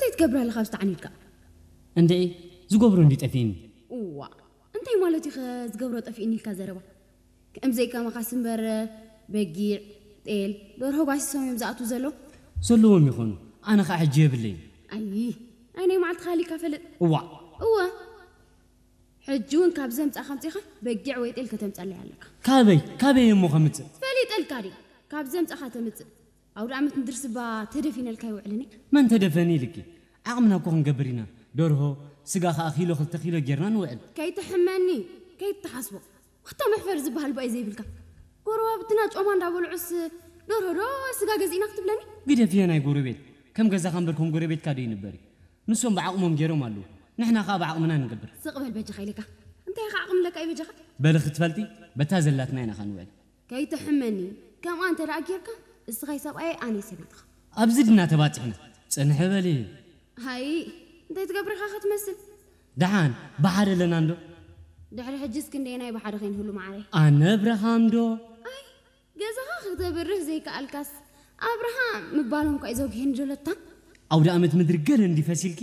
እንታይ ትገብር ኣለኻ ኣብዚ ተዓኒድካ? እንዴ ዝገብሮ እንዲ ጠፊእኒ። እዋ እንታይ ማለት እዩ ዝገብሮ ጠፊእኒ ኢልካ ዘረባ? ከምዘይ ከማኻስ እምበር በጊዕ፣ ጤል፣ ደርሆ ባሲሶም እዮም ዝኣትዉ ዘለዉ። ዘለዎም ይኾኑ፣ ኣነ ኸዓ ሕጂ የብለይን። ኣይ ኣይ ናይ መዓልትኻ ሃሊካ ፈልጥ። እዋ እወ ሕጂ እውን ካብ ዘምጻኻ ኣምጺኻ በጊዕ ወይ ጤል ከተምጸለይ ኣለካ። ካበይ ካበይ እሞ ከምጽእ? ፈሊጠልካ ድየ ካብ ዘምጻኻ ተምጽእ? ኣውደ ዓመት ንድርሲ እባ ተደፊነልካ ኣይውዕልን እየ። መን ተደፈኒ ኢልኪ? ዓቕምና እኮ ክንገብር ኢና። ደርሆ፣ ስጋ ከኣ ኪሎ ክልተ ኪሎ ጌርና ንውዕል። ከይትሕመኒ፣ ከይትሓስቦ። ዋታ መሕፈሪ ዝበሃል እባ እዩ ዘይብልካ። ጎረባብትና ጮማ እንዳበልዑስ ደርሆ ዶ ስጋ ገዚእና ክትብለኒ? ግደፍዮ ናይ ጎረቤት። ከም ገዛኻ እምበር ከም ጎረቤትካ ዶ ይንበር እዩ? ንሶም ብዓቕሞም ጌሮም ኣለዉ። ንሕና ከኣ ብዓቕምና ንገብር። ስቕ በል በጃኻ ኢለካ። እንታይ ኢኻ ዓቕሚ ኣለካ እዩ በጃኻ? በሊ ክትፈልጢ በታ ዘላትና ኢና ኸንውዕል። ከይትሕመኒ፣ ከምኣ እንተ ደኣ ጌርካ፣ እስኻ ሰብኣየይ ኣነ ሰበይትኻ። ኣብዚ ድና ተባጺሕና። ጽንሒ በሊ። ሃይ፣ እንታይ ትገብር ኢኻ ክትመስል? ደሓን፣ ብሓደ ኣለና እንዶ? ድሕሪ ሕጂስ ክንደየናይ ብሓደ ከይንህሉ መዓረይ? ኣነ ኣብርሃም ዶ? ኣይ፣ ገዛኻ ክተብርህ ዘይከኣልካስ ኣብርሃም ምባሎም እኳ እዩ ዘጉህየኒ ዶ ለታ? ኣውደ ኣመት ምድሪ ገለ እንዲ ፈሲልኪ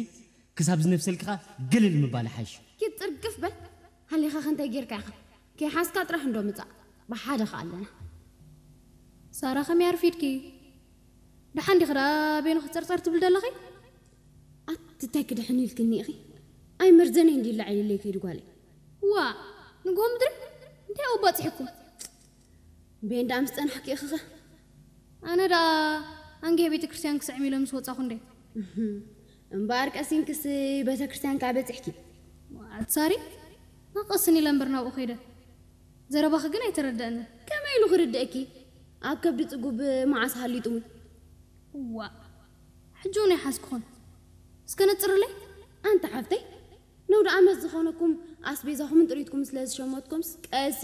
ክሳብ ዝነፍሰልኪ ኸኣ ግልል ምባል ይሓይሽ። ኪድ ጥርግፍ በል ሃሊኻኸ እንታይ ጌርካ ኢኻ? ከይሓዝካ ጥራሕ እንዶ ምጻእ ብሓደ ኸኣ ኣለና። ሳራ ከመይ ኣርፊድኪ? ደሓን ዲኺ ደኣ በይንኺ ጸርጸር ትብሊ ዘለኺ? ኣቲ እንታይ ክድሕን ኢልክኒ ኢኺ? ኣይመርዘነይ እንዲ ይላዓል ኢለይ ከይዱ ጓለይ። ዋ ንግሆ ምድሪ እንታይ ኣብኡ ባጺሕኩም? ቤን ደኣ ምስ ጸናሕኪ ኢኺኸ? ኣነ ደኣ ኣንጌ ቤተ ክርስቲያን ክስዕም ኢለ ምስ ወጻኹ እንዴ። እምበኣር ቀሲንክስ ቤተ ክርስቲያን ከኣ በጺሕኪ። ኣትሳሪ ናቀስን ኢለ እምበር ናብኡ ከይደ። ዘረባኺ ግን ኣይተረደእንን። ከመይ ኢሉ ክርድእኪ? ኣብ ከብዲ ጽጉብ መዓስ ሃሊጡ እውን። ዋ ሕጂ እውን ኣይሓዝኩኹን። እስከ ነጽርለይ። ኣንታ ሓፍተይ፣ ነውዲ ኣመት ዝኾነኩም ኣስቤዛኹምን ጥሪትኩም ስለ ዝሸመትኩምስ ቀስ